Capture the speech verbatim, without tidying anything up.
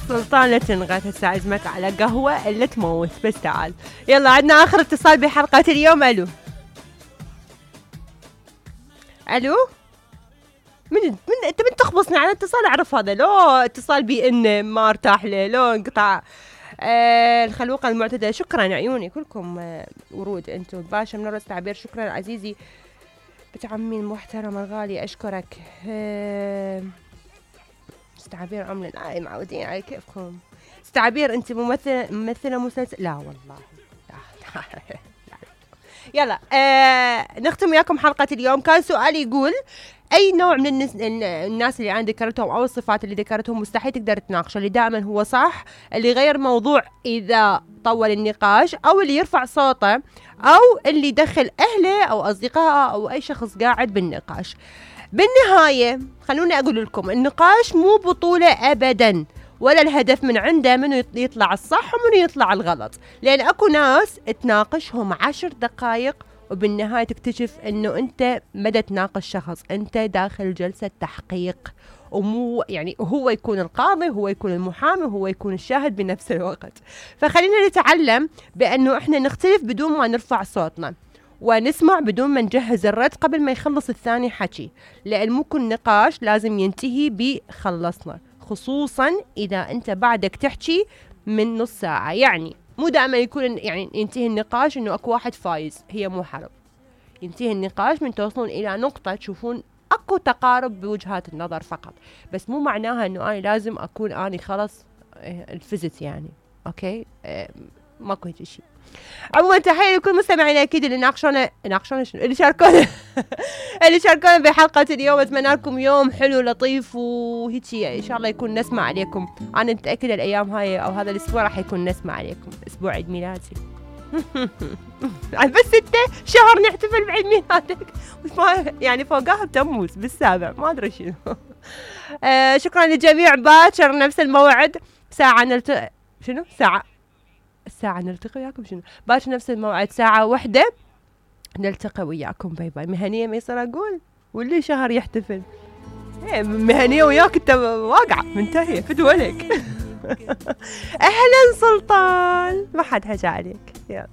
سلطان لا تنغث هسه عزمك على قهوة الا تموت بس تعال. يلا عندنا اخر اتصال بحلقة اليوم. الو الو من من انت من تخبصني على اتصال اعرف هذا لو اتصال بي ان ما ارتاح له لو انقطع. آه الخلوقة المعتدلة شكرا عيوني كلكم. آه ورود انتم. باشا من راس تعبير شكرا عزيزي بنت عمي المحترم الغالي اشكرك. آه استعبير عملة آه معودين على كيفكم. استعبير انت ممثلة ممثلة مسلسل لا والله لا. يلا آه نختم وياكم حلقة اليوم. كان سؤالي يقول اي نوع من الناس, الناس اللي انا ذكرتهم او الصفات اللي ذكرتهم مستحيل تقدر تناقشه؟ اللي دائما هو صح، اللي يغير موضوع اذا طول النقاش، او اللي يرفع صوته، او اللي يدخل اهله او اصدقائه او اي شخص قاعد بالنقاش. بالنهاية خلوني اقول لكم النقاش مو بطولة ابدا، ولا الهدف من عنده منو يطلع الصح ومنو يطلع الغلط، لان اكو ناس تناقشهم عشر دقائق وبالنهاية تكتشف انه انت مدى تناقش شخص، انت داخل جلسة تحقيق، ومو يعني هو يكون القاضي، هو يكون المحامي، هو يكون الشاهد بنفس الوقت. فخلينا نتعلم بانه احنا نختلف بدون ما نرفع صوتنا، ونسمع بدون ما نجهز الرد قبل ما يخلص الثاني حكي، لان مو كل نقاش لازم ينتهي بخلصنا، خصوصا اذا انت بعدك تحكي من نص ساعة. يعني مو دائما يكون يعني ينتهي النقاش انه اكو واحد فايز، هي مو حرب. ينتهي النقاش من توصلون الى نقطة تشوفون اكو تقارب بوجهات النظر فقط، بس مو معناها انه انا لازم اكون اني خلص الفزت يعني. اوكي اه ماكو هيك شيء. عموما تحية لكل مستمعينا اكيد اللي ناقشونا ناقشونا شنو اللي شاركونا اللي شاركونا بحلقة اليوم. اتمنى لكم يوم حلو لطيف وهيجي ان شاء الله يكون نسمع عليكم. انا متأكدة الايام هاي او هذا الاسبوع راح يكون نسمع عليكم، اسبوع عيد ميلادي. بس ستة شهر نحتفل بعيد ميلادك يعني فوقها بتموز بالسابع ما ادري شنو. آه شكرا للجميع. باكر نفس الموعد ساعة نلت شنو ساعة الساعة نلتقي وياكم شنو باكر نفس الموعد ساعة واحدة نلتقي وياكم. باي باي. مهنية ما يصير اقول واللي شهر يحتفل ايه مهنية وياك انت واقعة منتهية فدولك. اهلا سلطان ما حد حكى عليك. يلا